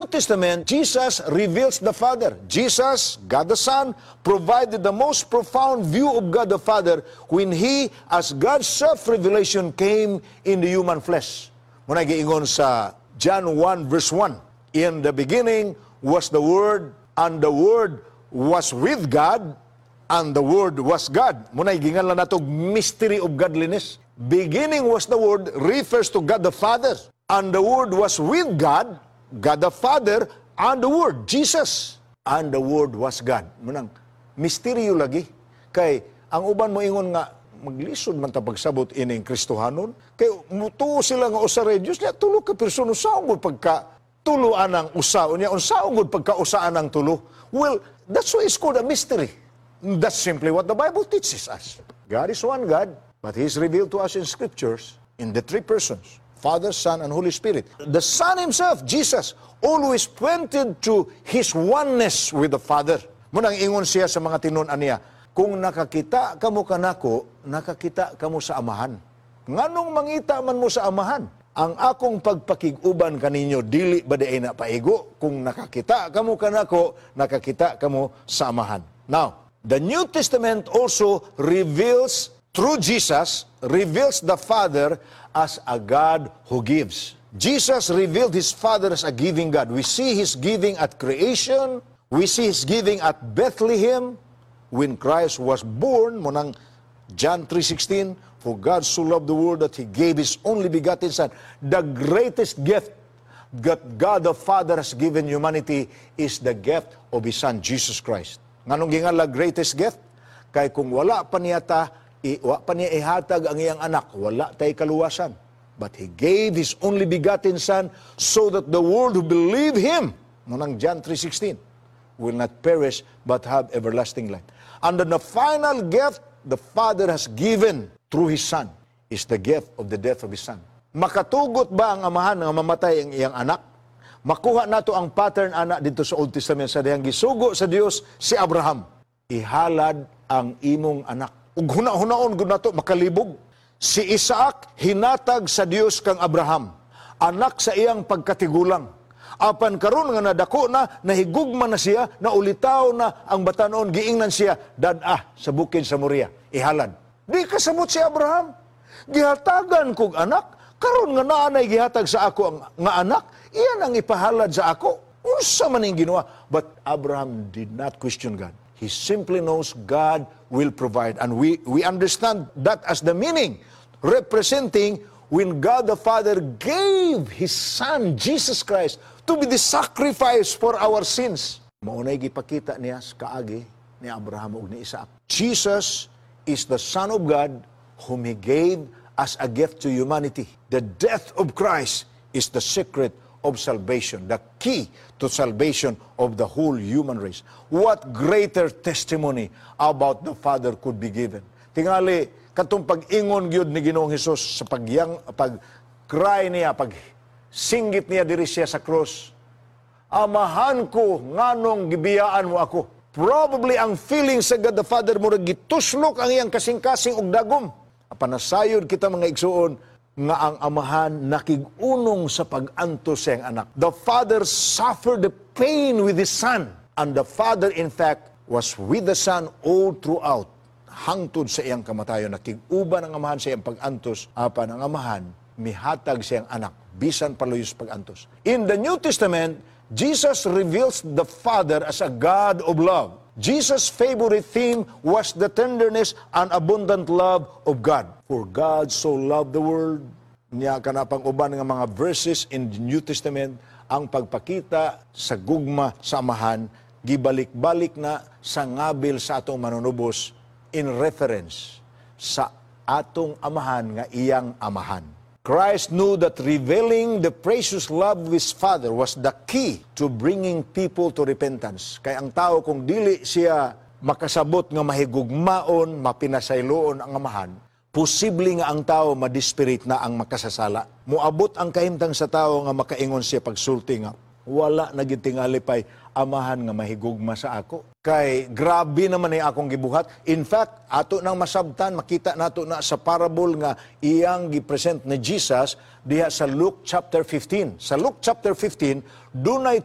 Testament, Jesus reveals the Father. Jesus, God the Son, provided the most profound view of God the Father when He, as God's self-revelation, came in the human flesh. Mao na giingon sa John 1 verse 1, "In the beginning was the Word, and the Word was with God, and the Word was God." Mao na ginganlan nato mystery of godliness. "Beginning was the Word" refers to God the Father. "And the Word was with God," God the Father, "and the Word, Jesus. And the Word was God." Mao nang misteryo lagi. Kay ang uban mo ingon nga maglisod man ta pagsabot ining Kristohanon. Kay mutuo sila nga usa ra Dios niya, tulo ka persona, unsaon gud pagka tulo anang usa unya, unsaon gud pagka usa anang tulo? Well, that's why it's called a mystery. That's simply what the Bible teaches us. God is one God, but He is revealed to us in Scriptures in the three persons, Father, Son, and Holy Spirit. The Son Himself, Jesus, always pointed to His oneness with the Father. Mao nang ingon siya sa mga tinun-an niya, "Kung nakakita kamo kanako, nakakita kamo sa Amahan. Nganong mangita man mo sa Amahan? Ang akong pagpakig-uban kaninyo, dili ba diay na paigo? Kung nakakita kamo kanako, nakakita kamo sa Amahan." Now, the New Testament also reveals, through Jesus, reveals the Father as a God who gives. Jesus revealed His Father as a giving God. We see His giving at creation. We see His giving at Bethlehem when Christ was born. Mao nang John 3:16, "For God so loved the world that He gave His only begotten Son." The greatest gift that God the Father has given humanity is the gift of His Son, Jesus Christ. Nganong ginganlan greatest gift? Kay kung wala pa niya ta, wa pa niya ihatag ang iyang anak, wala tay kaluwasan. But He gave His only begotten Son so that the world who believe Him, mao nang John 3:16, will not perish but have everlasting life. And then the final gift the Father has given through His Son is the gift of the death of His Son. Makatugot ba ang Amahan nga mamatay ang iyang anak? Makuha nato ang pattern ana dito sa Old Testament sa dihang gisugo sa Dios si Abraham. "Ihalad ang imong anak." Ug huna-hunaon gud nato, makalibog. Si Isaac hinatag sa Dios kang Abraham, anak sa iyang pagkatigulang. Apan karon nga nadako na, nahigugma na siya, naulitaw na ang batanon, giingnan siya, "Dad-a sa bukid sa Moria, ihalad." Di kasabot si Abraham. "Gihatagan kog anak, karon nga naa nay gihatag sa ako ang nga anak, iyan ang ipahalad sa ako. Unsa man ning Ginoo?" But Abraham did not question God. He simply knows God will provide. And we understand that as the meaning representing when God the Father gave His Son, Jesus Christ, to be the sacrifice for our sins. Mao nay gipakita niya sa kaagi ni Abraham ug ni Isaac. Jesus is the Son of God whom He gave as a gift to humanity. The death of Christ is the secret of salvation, the key to salvation of the whole human race. What greater testimony about the Father could be given? Tingali, katong pag-ingon gyud ni Ginoong Hesus sa pagyang pag cry niya, pag singgit niya diri siya sa cross, "Amahan ko, nganong gibiyaan mo ako?" Probably ang feeling sa God the Father, murag gituslok ang iyang kasing-kasing og dagom. Apan nasayod kita, mga igsuon, nga ang Amahan nakig-unong sa pag-antos sa iyang anak. The Father suffered the pain with His Son. And the Father, in fact, was with the Son all throughout. Hangtod sa iyang kamatayon, nakig-uban ang Amahan sa iyang pag-antos, apan ang Amahan mihatag sa iyang anak, bisan paluyos pag-antos. In the New Testament, Jesus reveals the Father as a God of love. Jesus' favorite theme was the tenderness and abundant love of God. "For God so loved the world." Niya kana pang uban nga mga verses in the New Testament, ang pagpakita sa gugma sa Amahan gibalik-balik na sa ngabil sa atong Manunubos in reference sa atong Amahan nga iyang Amahan. Christ knew that revealing the precious love of His Father was the key to bringing people to repentance. Kay ang tao, kung dili siya makasabot nga mahigugmaon, mapinasayloon ang Amahan, posible nga ang tao madesperate na ang makasasala. Moabot ang kahimtang sa tao nga makaingon siya pagsulti nga, "Wala na gid tingali pay Amahan nga mahigugma sa ako. Kay grabe naman ay akong gibuhat." In fact, ato nang masabtan, makita nato na sa parable nga iyang gipresent ni Jesus diha sa Luke chapter 15. Sa Luke chapter 15, dunay